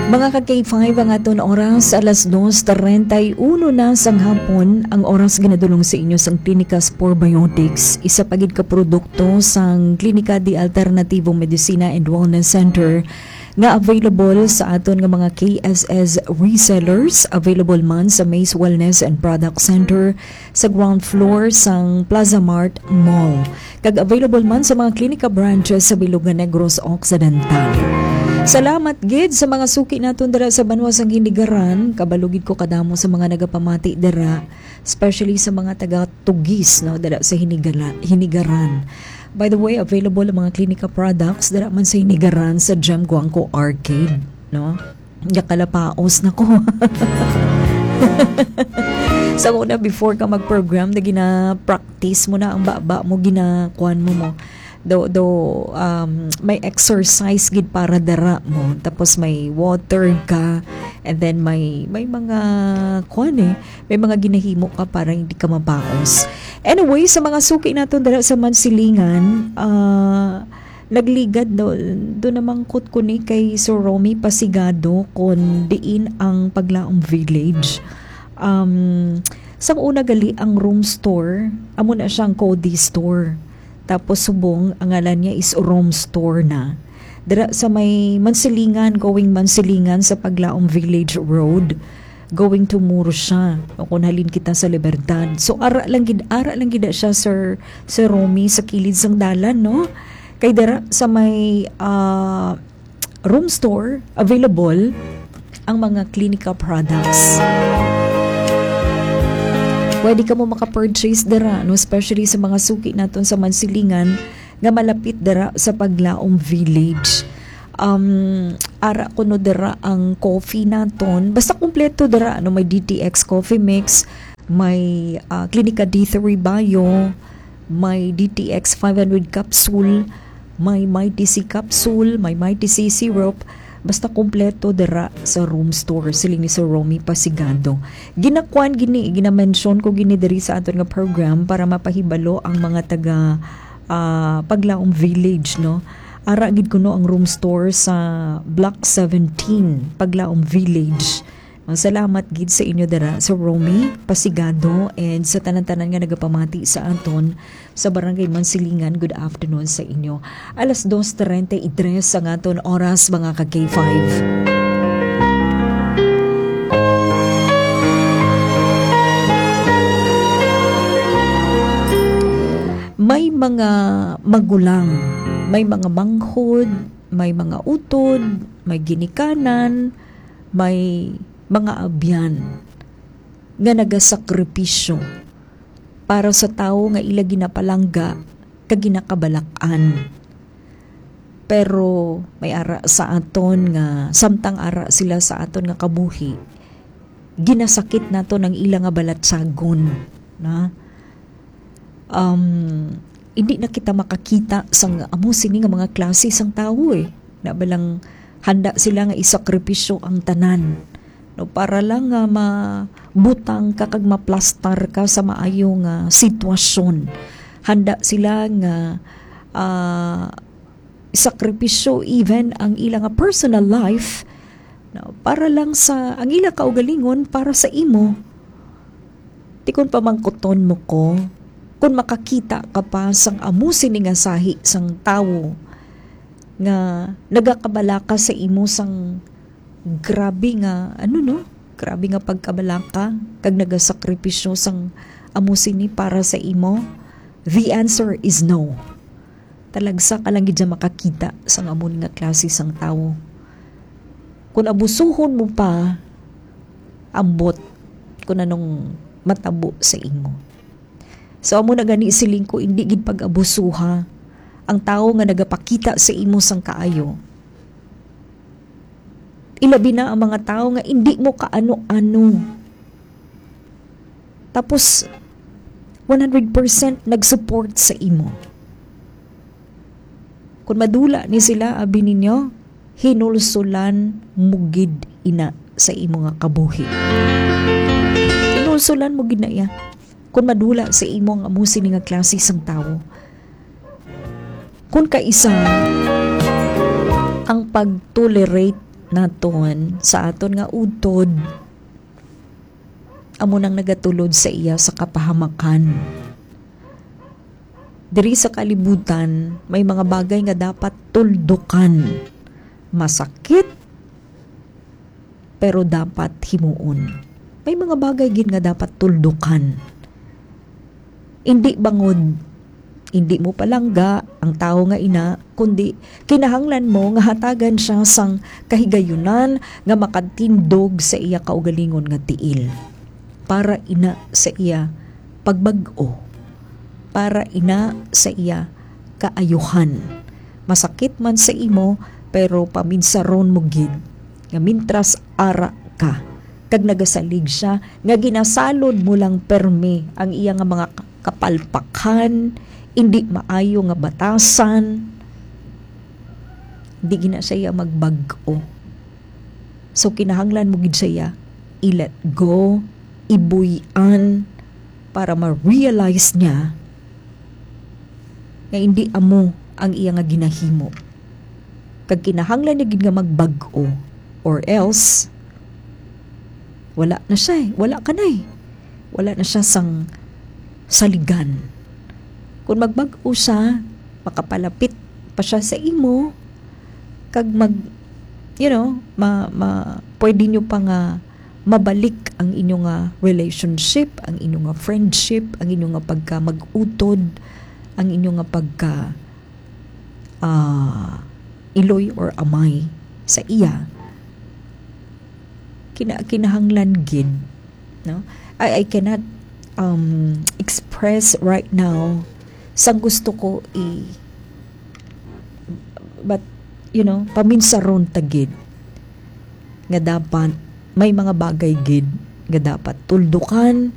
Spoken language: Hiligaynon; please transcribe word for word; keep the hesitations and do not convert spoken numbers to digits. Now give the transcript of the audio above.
Mga ka K five, ang aton oras, alas dos treinta y uno na sang hapon. Ang oras ginadulong sa inyo sang Clinicas Probiotics, isa pa gid ka produkto sang Klinika de Alternativo Medicina and Wellness Center nga available sa aton nga mga K S S resellers. Available man sa Maze Wellness and Product Center sa ground floor sang Plaza Mart Mall, kag available man sa mga klinika branches sa bilog nga Negros Occidental. Salamat gid sa mga suki naton dira sa banwa sang Hinigaran. Kabalo gid ko kadamo sa mga nagapamati dira, especially sa mga taga Tugis, no, dira sa Hinigala-, Hinigaran. By the way, available ang mga klinika products dira man sa Hinigaran sa Gem Guangco Arcade, no? Nakalapaos na ko. Sa una, before ka mag-program, na gina-practice mo na ang baba mo, ginakuan mo mo. Do, do, um, may exercise gid para dara mo. Tapos may water ka. And then may, may mga, kuan eh, may mga ginahimo ka para hindi ka mapaos. Anyway, sa mga suki naton dira sa Mansilingan, ah, nagligad do, do namangkot ko ni kay Sir Romy Pasigado kon diin ang Paglaom Village. Um, sang una gali ang Room Store, amo na siya ang Cody Store. Tapos subong, ang ngalan niya is Room Store na. Dira sa may Mansilingan, going Mansilingan sa Paglaom Village Road, going to Murcia, o kung halin kita sa Libertad. So, ara lang gid, ara lang gid siya, Sir, Sir Romy, sa kilid sang dalan, no? Kay dira sa may, ah, Room Store, available ang mga Clinica products. Pwede ka mo maka-purchase dira, no? Especially sa mga suki naton sa Mansilingan nga malapit dira sa Paglaom Village. Um, ara kuno dira ang coffee naton. Basta kompleto dira, no? May D T X coffee mix, may, ah, Clinica D three Bio, may D T X five hundred capsule, may Mighty C capsule, may Mighty C syrup. Basta kompleto dira sa Room Store, siling ni Sir Romy Pasigado. Ginakuan gini, ginamention ko gini diri sa aton nga program para mapahibalo ang mga taga, ah, Paglaom Village, no? Ara gid kuno ang Room Store sa Block seventeen, Paglaom Village. Ang salamat gid sa inyo dira, Sir Romy Pasigado, and sa tanan-tanan nga nagapamati sa aton sa Barangay Mansilingan. Good afternoon sa inyo. Alas dos treinta y tres ang aton oras, mga ka K five. May mga magulang, may mga manghod, may mga utod, may ginikanan, may mga abyan nga nagasakripisyo para sa tawo nga ila ginapalangga kag ginakamalakan. Pero may ara sa aton nga, samtang ara sila sa aton nga kabuhi, ginasakit naton ang ila nga balatyagon, na? Um, hindi na kita makakita sang amo sini nga mga klase sang tawo, eh. Na balang handa sila nga isakripisyo ang tanan, no, para lang nga mabutang ka kag maplastar ka sa maayo nga sitwasyon. Handa sila nga, ah, sakripisyo even ang ila nga personal life, no, para lang sa, ang ila kaugalingon para sa imo. Ti kon pamangkuton mo ko, kon makakita ka pa sang amo sini nga sahi sang tawo nga nagakabalaka sa imo sang grabe nga, ano, no? Grabe nga pagkabalaka kag nagasakripisyo sang amo sini para sa imo? The answer is no. Talagsa ka lang gid siya makakita sang amo ni nga klase sang tawo. Kung abusuhon mo pa, ambot kung anong matabo sa imo. So, amo na gani siling ko, hindi gid pag-abusuha ang tawo nga nagapakita sa imo sang kaayo. Ilabi na ang mga tawo nga hindi mo kaano-ano. Tapos, one hundred percent nag-support sa imo. Kung madula ni sila, abi ninyo, hinulsulan mo gid ina sa imo nga kabuhi. Hinulsulan mo gid na iya. Kung madula sa imo ang amo sini nga klase sang tawo. Kung kaisa ang pag-tolerate naton sa aton nga utod amo nang nagatulod sa iya sa kapahamakan. Diri sa kalibutan, may mga bagay nga dapat tuldukan. Masakit, pero dapat himuon. May mga bagay gid nga dapat tuldukan. Indi bangod, indi mo palangga ang tawo nga ina, kundi kinahanglan mo nga hatagan siya sang kahigayunan nga makatindog sa iya kaugalingon nga tiil, para ina sa iya pagbag-o, para ina sa iya kaayuhan. Masakit man sa imo, pero paminsaron mo gid nga mintras ara ka kag nagasalig siya, nga ginasalod mo lang permi ang iya nga mga kapalpakan, indi maayo nga batasan, di gina siya magbag-o. So, kinahanglan mo gid siya i-let go, ibuy-an, para ma-realize niya nga indi amo ang iya nga ginahimo. Kag kinahanglan niya gid nga magbag-o, or else, wala na siya eh. Wala ka na eh. Wala na siya sang saligan. Kung magbag-o siya, makapalapit pa siya sa imo, kag mag, you know, ma, ma, pwede nyo pa nga mabalik ang inyo nga relationship, ang inyo nga friendship, ang inyo nga pagka mag-utod, ang inyo nga pagka, ah, iloy or amay sa iya. Kina-, kinahanglan gid, no? I, I cannot, um, express right now sang gusto ko i-, but, you know, paminsaron ta gid nga dapat may mga bagay gid nga dapat tuldukan,